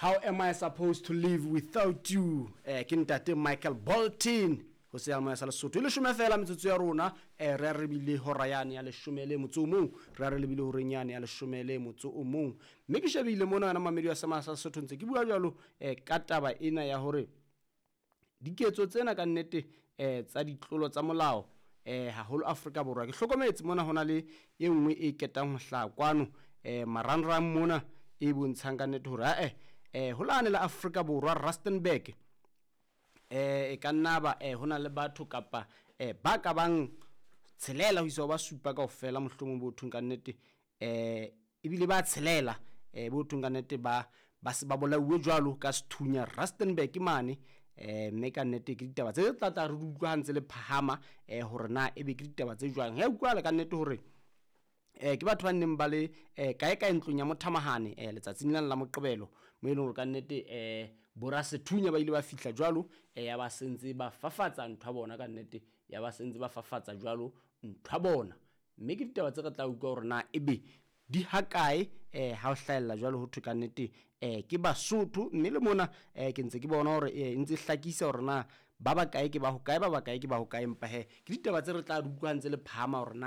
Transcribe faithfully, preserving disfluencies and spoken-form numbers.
How am I supposed to live without you? Eh, ke ntate Michael Bolton ho seyalemoya sa Lesotho. E leshome fela metsotso ya rona, eh, re a re bile hora yane ya leshome le motso o mong, re a re lebile horeng yane ya leshome le motso o mong. Mme ke shebile mona wena mamedi wa Seyalemoya sa Lesotho, ntse ke bua jwalo eh, ka taba ena ya hore diketso tsena ka nnete eh, tsa ditlolo tsa molao eh, haholo Afrika Borwa. Ke hlokometse mona hona le e nngwe e ketang ho hlaha kwano eh, marangrang mona e bontshang ka nnete hore ae eh, ho lane la Afrika Borwa Rustenburg eh e ka nna ba eh hona le batho kapa eh ba ka bang tshelela ho isa ho ba supa kaofela mohlomong bo thong ka nnete eh ebile ba tshelela eh bo thong ka nnete ba ba se ba bolauwe jwalo ka sethunya Rustenburg mane. Eh mme ka nnete ke ditaba tse tla tla re di utlwa ha ntse le phahama eh hore na ebe ke ditaba tse jwang. Ya utlwahala ka nnete hore eh ke batho ba neng ba le eh kae kae ntlong ya mothamahane eh letsatsing lena la Moqebelo, mo e leng hore ka nnete eh borasethunya ba ile ba fihla jwalo eh ya ba sentse ba fafatsa ntho ya bona ka nnete, ya ba sentse ba fafatsa jwalo ntho ya bona. Mme ke ditaba tse re tla utlwa hore na ebe di hakae eh ha o hlahella jwalo ho thwe ka nnete eh ke Basotho. Mme le mona eh ke ntse ke bona hore eh ntse hlakisa hore na ba bakae ke ba hokae, ba bakae ke ba hokae. Empa he ke ditaba tse re tla di utlwa ha ntse le phahama hore na